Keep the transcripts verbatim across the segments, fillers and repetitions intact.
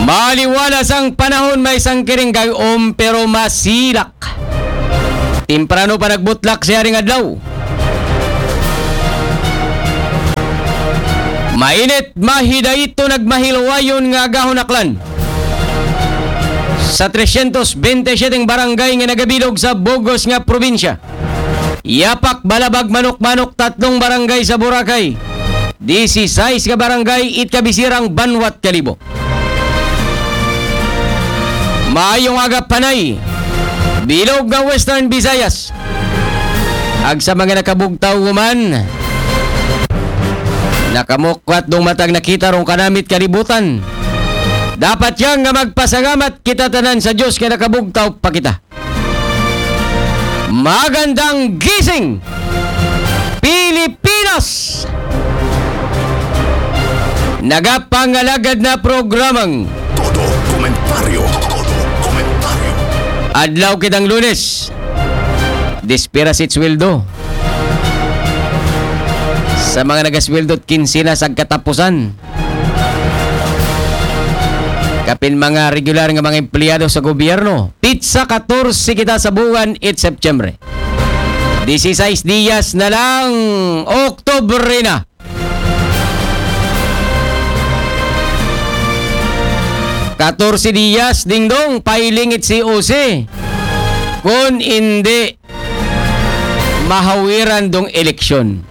Maliwalas ang panahon, may sangkiring gayom pero masilak. Temprano pa nagbutlak siya ring adlaw. Mainit, mahidayto, nagmahilwayon nga agahon aklan. Sa tresyentos bente siyete barangay nga nagabilog sa bug-os nga probinsya. Yapak, Balabag, Manok-Manok, tatlong barangay sa Boracay. Disisais ka barangay it kabisirang banwat Kalibo. Maayong aga, panay. Bilog nga Western Visayas. Ag sa mga nakabugtaw man, nakamukwat dong matag nakita rong kanamit kalibutan. Dapat yang nga magpasalamat kita tanan sa Diyos nga nakabugtaw pa kita. Magandang gising, Pilipinas! Nagapangalagad na programang Todo Komentaryo. Todo Komentaryo. Adlaw kitang Lunes. Dispira si sweldo. Sa mga nagasweldo, kinsina sa katapusan. Kapin mga regular nga mga empleyado sa gobyerno, pitsa katorse kita sa buwan it September. Disisais diyas na lang, Oktubre na. Katorse diyas, dingdong, pailingit si O C. Kun indi, mahawiran dong eleksyon.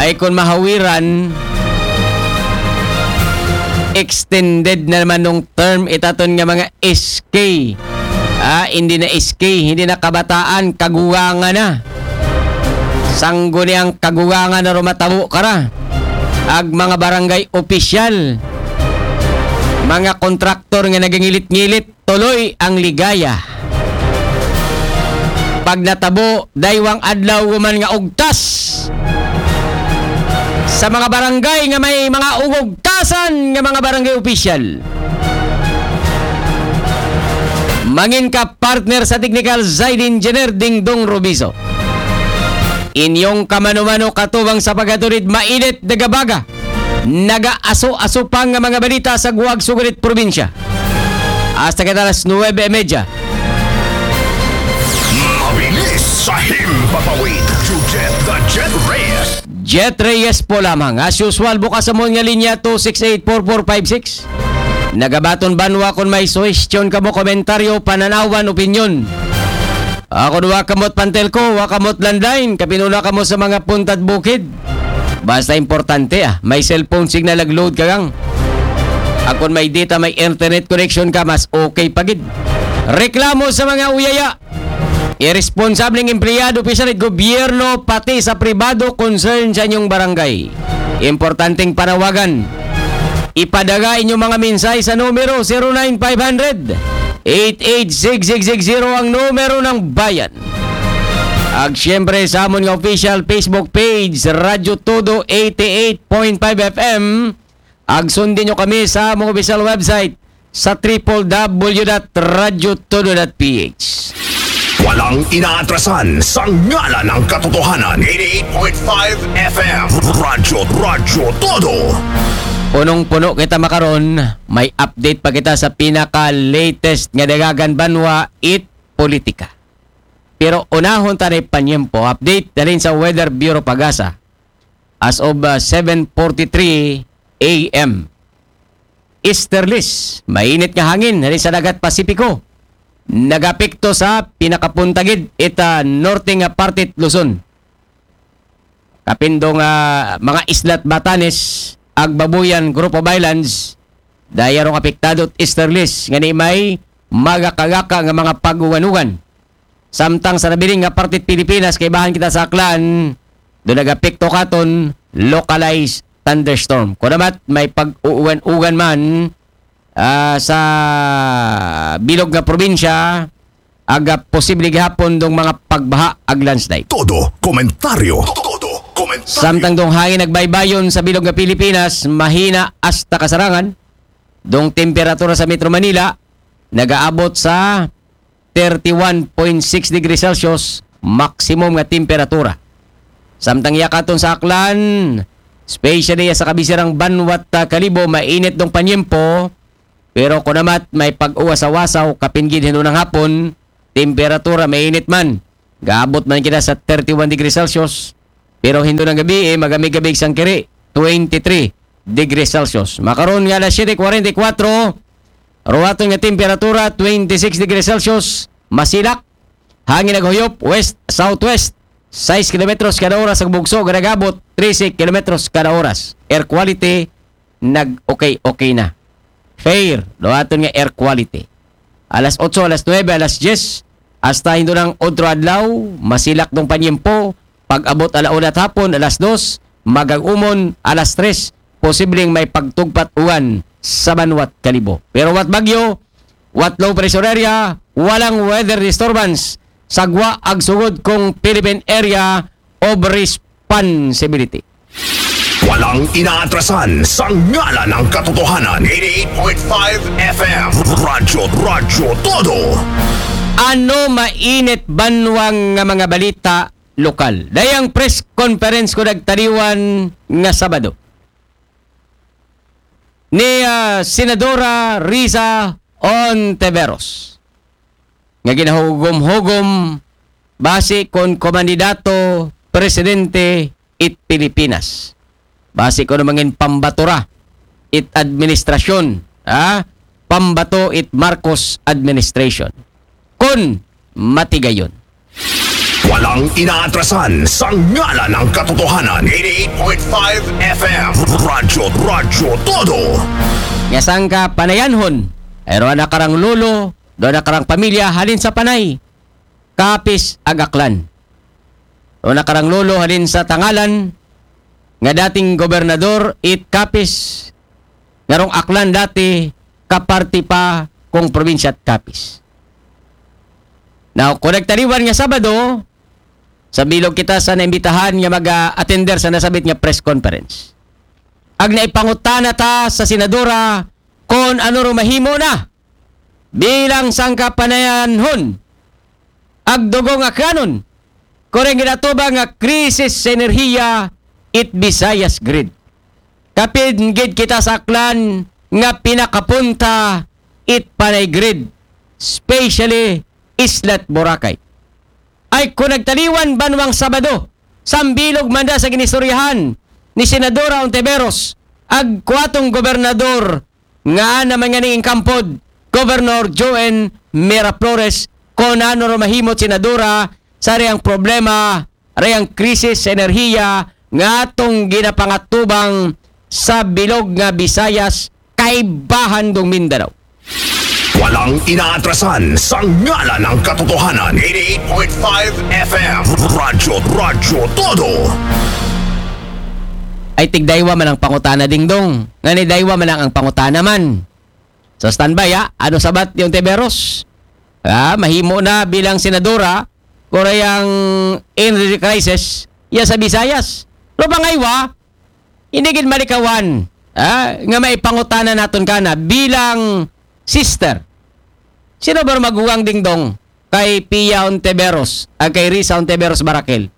Ay, kun mahawiran, extended na naman nung term itaton nga mga S K. Ah, hindi na S K, hindi na kabataan, kagugangan na. Sanggo niyang kagugangan na rumatabo kara. Ag mga barangay opisyal, mga kontraktor nga nagangilit-ngilit, tuloy ang ligaya. Pag natabo, daywang adlaw man nga ugtas sa mga barangay nga may mga ugugtasan nga mga barangay opisyal. Mangin ka partner sa technical side engineer Dingdong Robiso. Inyong kamano-mano katubang sa pagaturid, mainit, nagabaga, nagaaso-aso pa nga mga balita sa guwag sugurit probinsya. Hasta kita alas nuwebe y media. Mabilis sa himpapawid, Jujet the Jet Reyes. Jet Reyes po lamang. As usual, bukas sa mo nga linya two six eight four four five six. Nagabaton banwa kung may suhestyon kamo, komentaryo, pananawan, opinyon. Ako wa kamot pantelko, wa kamot landline, kapinuna kamo sa mga puntad bukid. Basta importante, ah, may cellphone signal nag-load ka gang. Akon may data, may internet connection ka, mas okay pa gid. Reklamo sa mga uyaya. Irresponsableng empleyado, opisyal at gobyerno, pati sa pribado, concern sa inyong barangay. Importanteng panawagan. Ipadala inyong mga mensahe sa numero zero nine five hundred, eight eight six six six zero ang numero ng bayan. Ag siyempre sa amon nga official Facebook page, Radyo Todo eighty-eight point five F M. Ag sundin nyo kami sa among official website sa triple W dot radyo todo dot P H. Walang inaatrasan sa ngalan ng katotohanan. Eighty-eight point five F M. Radyo, Radyo Todo. Punong-puno kita makaron, may update pa kita sa pinaka-latest nga dagagan banwa it politika. Pero unahon ta na panyempo, update dalin sa Weather Bureau Pagasa. As of uh, seven forty-three A M. Easterlies, mainit nga hangin rin sa dagat Pasipiko. Nagapekto sa pinakapuntagid ita norte nga parte it Luzon. Kapindong ah, mga islat Batanes, Agbabuyan, Group of Islands, dayarong apektado it easterlies nga ni may magakagaka nga mga pag-uwan-uwan. Samtang sa nabiling nga parte it Pilipinas, kay bahan kita sa Aklan, do nagapekto katon localized thunderstorm. Kunamat, may pag-uuwan-ugan man ah, sa bilog nga probinsya, aga posible gihapon dong mga pagbaha ag landslide. Todo komentaryo. Todo komentaryo. Samtang dong hangin nagbaybayon sa bilog nga Pilipinas, mahina hasta kasarangan, dong temperatura sa Metro Manila nagaabot sa thirty-one point six degrees Celsius, maximum nga temperatura. Samtang yakaton sa Aklan, Especially sa kabisirang banwat, ah, Kalibo, mainit dong panyempo. Pero kunamat, may pag-uwas-awasaw, kapin gid hinunang hapon, temperatura mainit man. Gaabot man kita sa thirty-one degrees Celsius. Pero hinunang gabi, eh, magami-gabi sang kiri, twenty-three degrees Celsius. Makaron nga alas siyete kuwarenta y kuwatro, ruwaton nga temperatura, twenty-six degrees Celsius, masilak, hangin naghuyop, west, southwest, sais kilometros kada oras ang bugso, gabot, trese kilometros kada oras. Air quality, nag-okay-okay na. Fair, ruwaton nga air quality. Alas otso, alas nuebe, alas diyes, hasta hinunang otro adlaw, masilak dong panyempo, pag-abot ala una hapon, alas dos, magag-umon, alas tres, posibleng may pagtugpat uwan sa banwat Kalibo. Pero wat bagyo, wat low pressure area, walang weather disturbance, sagwa ag sugod kong Philippine Area of Responsibility. Walang inaatrasan sa ngalan ng katotohanan. Eighty-eight point five F M. Radyo, Radyo Todo. Ano mainit banwang nga mga balita lokal? Dayang press conference ko nagtaliwan nga Sabado ni, ah, Senadora Risa Ontiveros nga ginahugom-hugom basi kon kumandidato presidente it Pilipinas. Basi kon mangin pambatura it administrasyon, ha? Pambato it Marcos administration. Kon matigayon. Walang inaatrasan sa ngalan ng katotohanan. Eighty-eight point five F M. Radyo, Radyo Todo. Nga sangka panayanhon, ay ruwa na karang lolo, do na karang pamilya, halin sa Panay, Capiz ag Aklan. Do na karang lolo, halin sa Tangalan, nga dating gobernador it Capiz, nga rong Aklan dati, kaparti pa kong probinsya at Capiz. Now, kon nagtaliwan nga Sabado, sa bilog kita sa naimbitahan nga mag-attender sa nasabit nga press conference. Ag naipangutana ta sa senadora kon ano ro mahimo na bilang sangka panayanhon ag dugong Aklanon, kon reng ginatubang nga krisis sa enerhiya it Visayas Grid. Kapin gid kita sa Aklan nga pinakapunta it Panay Grid, especially Isla it Boracay. Ay kon nagtaliwan banwang Sabado, sa bilog man da sa ginistoryahan ni Senadora Ontiveros, ag kuwatong gobernador nga naman nga ning inkampod, Governor Joen Miraflores, kon ano ro mahimo it senadora sa reyang problema, reyang krisis sa enerhiya nga atong ginapangatubang sa bilog nga Visayas, kaibahan dong Mindanao. Walang inaatrasan sa ngalan ng katotohanan. Eighty-eight point five F M. Radyo, Radyo Todo. Ay tigdaywa man ang pangutana, Dingdong. Nga ni daywa man lang ang pangutana man. So, standby, ha? Ano sabat ni Ontiveros? Ah, mahimo na bilang senadora, kon reyang energy crisis, ya sa Visayas. Pero pangaywa, hindi gid malikawan, ah, nga maipangutana naton kana bilang sister. Sino ba maguwang, Dingdong, kay Pia Ontiveros, ah, kay Risa Ontiveros Barakel?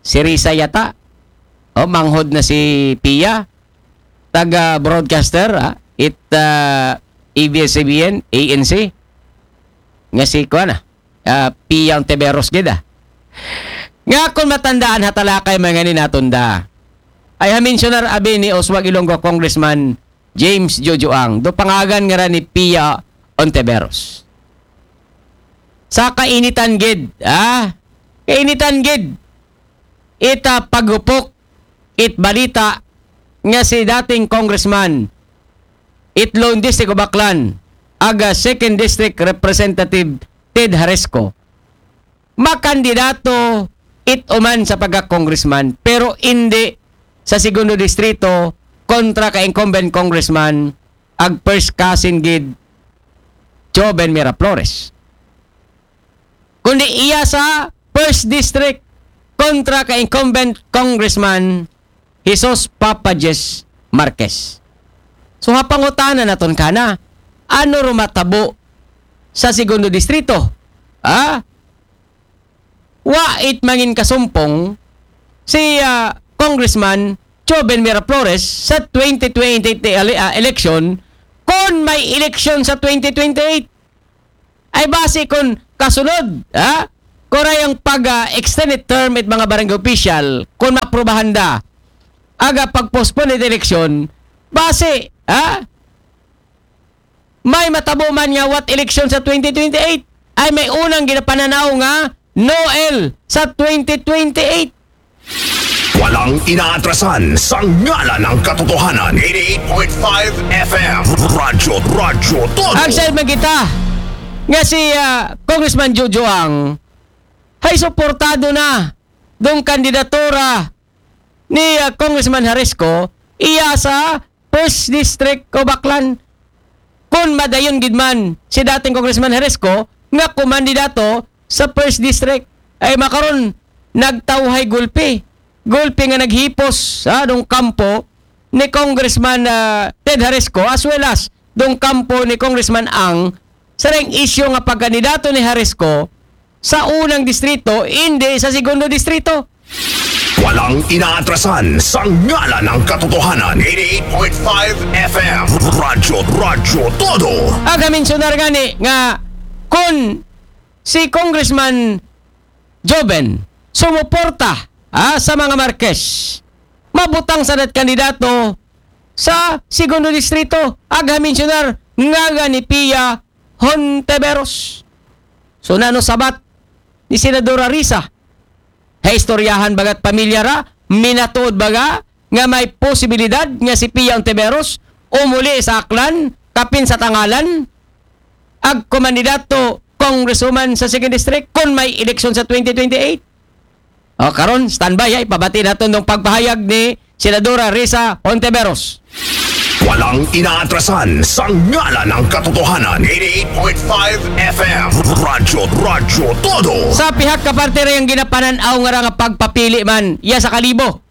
Si Risa yata. O, manghod na si Pia. Taga broadcaster, ah, it, ah, A B S C B N, A N C. Nga si, kuwan na, ah, Pia Ontiveros gid, ah. Nga kon matandaan ha talakay man ngani naton da, ay ha-mensionar abi ni Oswald Ilonggo Congressman James Jojo Ang, do pangagan ngara ni Pia Ontiveros. Sa kainitan gid, ah, kainitan gid ita paghupok it balita nga si dating congressman it lone District of Aklan, aga second District Representative Ted Haresco, makandidato it uman sa pagka-congressman, pero indi sa segundo distrito kontra ka incumbent congressman ag first cousin gid Joven Miraflores, kundi iya sa first district kontra ka incumbent congressman Jesus Papa Jess Marquez. So, ha pangutana naton kana, ano ro matabo sa segundo distrito? Ha? Wa it mangin kasumpong si, ah, Congressman Joven Miraflores sa twenty twenty-eight ele-, ah, election, kung may eleksyon sa twenty twenty-eight. Ay base kung kasunod, ha? Kung ay ang pag, ah, extended term it mga barangay official, kung maprobahan da, aga pag-postpone it eleksyon, base, ha? May matabo man nga what election sa twenty twenty-eight, ay may unang ginapananaw nga Noel sa twenty twenty-eight. Walang inaatrasan sa ngalan ng katotohanan. Eighty-eight point five F M. Radyo, Radyo Todo. Ang side man kita nga si, ah, Congressman Jojo Ang ay suportado na dong kandidatura ni, ah, Congressman Harisco iya sa First District o Aklan. Kung madayon gid man si dating Congressman Harisco nga kumandidato sa First District, ay makaron nagtawhay gulpi. Gulpi nga naghipos, ha, dong kampo ni Congressman, ah, Ted Harisco as well as dong kampo ni Congressman Ang sa ring isyu nga pagkandidato ni Harisco sa unang distrito, hindi sa segundo distrito. Walang inaatrasan sa ngalan ng katotohanan. Eighty-eight point five F M. Radyo, Radyo Todo. Aga mensionar nga ni nga kung si Congressman Joven sumuporta, ah, sa mga Marquez, mabutang sa dat kandidato sa segundo distrito. Aga mensionar nga ni Pia Hontiveros. So nano sabat ni Senadora Risa? Hay istoryahan bagat pamilya ra, minatuod baga nga may posibilidad nga si Pia Hontiveros umuli sa Aklan, kapin sa tangalan, ag kumandidato Congresswoman sa Second District kung may eleksyon sa twenty twenty-eight. O, karon, standby, ha, ipabati naton dong pagpahayag ni Senadora Risa Hontiveros. Walang inaatrasan sa ngalan ng katotohanan. Eighty-eight point five F M. Radyo, Radyo Todo. Sa pihak ka parte ra yang ginapananaw nga ra nga pagpapili man, iya sa Kalibo.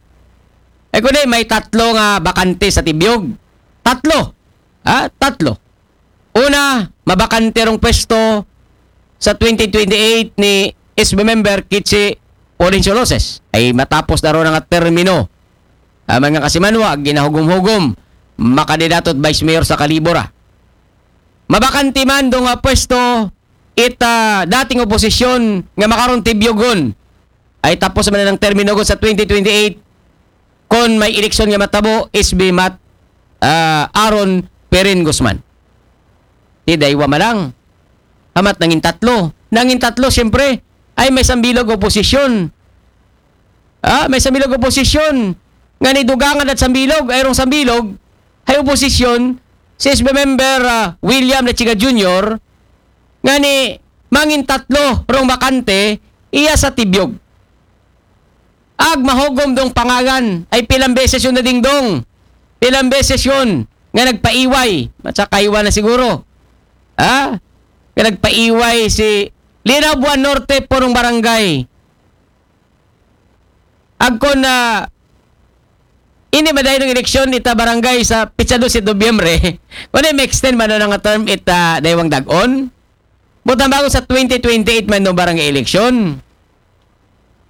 Eh, kundi may tatlo nga bakante sa Tibiog. Tatlo. Ha? Tatlo. Una, mabakante rong pwesto sa twenty twenty-eight ni S B member Kichi Florencio Loses. Ay matapos na ron nga termino. Ah, mga kasimanwa, ginahugom-hugom, makandidato at vice mayor sa Kalibo ra. Mabakante man do nga pwesto it, ah, dating oposisyon nga makaron Tibiogon. Ay tapos man ang termino gud sa twenty twenty-eight kon may eleksyon nga matabo, S B Mat, ah, Aaron Perin Guzman. Ti daywa man lang. Amat nangin tatlo. Nangin tatlo, siyempre, ay may sambilog oposisyon. Ah, may sambilog oposisyon. Nga ni dugangan at sambilog, ay rong sambilog, hay oposisyon, si S B member, ah, William Lechiga Junior, nga ni mangin tatlo rong bakante, iya sa Tibiog. Ag mahugom dong pangalan, ay pilang beses yun na dingdong. Pilang beses yun nga nagpaiway. Matsakaiwa na siguro. Ha? Nga nagpaiway si Linabuan Norte, punong barangay. Agkon na hindi madayong eleksyon ita barangay sa pitsa dos de Nobyembre. Kung may extend man na nga term ita daywang dagon. Butang bago sa twenty twenty-eight man no barangay eleksyon.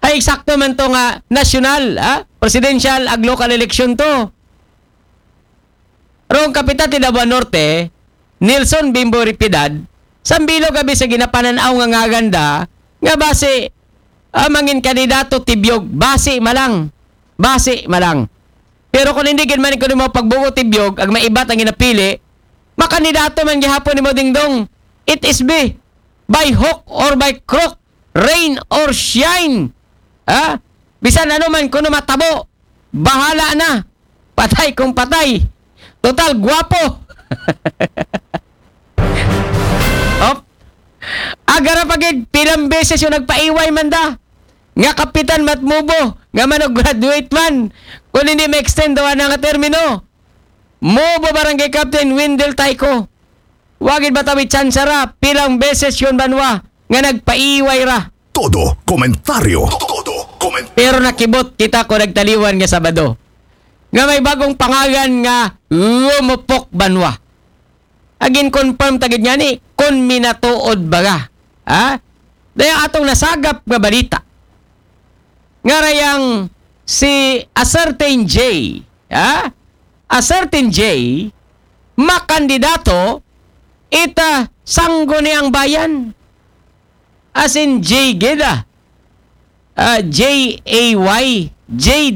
Ay eksakto man to nga nasyonal, ha? Presidential ag local election to. Rong kapitan ti Davao Norte, Nelson Bimbo Ripidad, sambilog abi sa ginapananaw nga ngaganda, nga base, ah, mangin kandidato Tibiog, base malang. Base malang. Pero kung hindi gid man kuno mo pagbugo Tibiog, ag maibat ang ginapili, makandidato man gihapon ni Modingdong. It is be by hook or by crook, rain or shine. Ha? Bisan ano man kuno matabo, bahala na. Patay kung patay. Total, gwapo. Op. Agara pa gid, pilang beses yung nagpaiway man da. Nga kapitan mat mubo, nga man og graduate man. Kung hindi ma-extend daw na nga termino. Mubo Barangay Captain Wendell Taiko. Wagid ba tawi tsansa ra, pilang beses yun banwa, nga nagpaiway ra. Todo komentaryo. Todo komentaryo. Pero nakibot kita ko nagtaliwan nga Sabado. Nga may bagong pangalan nga Lumupok Banwa. Agin confirm tagid niya ni, kon minatuod baga. Ha? Daya atong nasagap nga balita. Nga rayang si a certain J, ha? A certain J, makandidato ita Sangguniang Bayan. As in J gid, ah. Ah, J A Y, J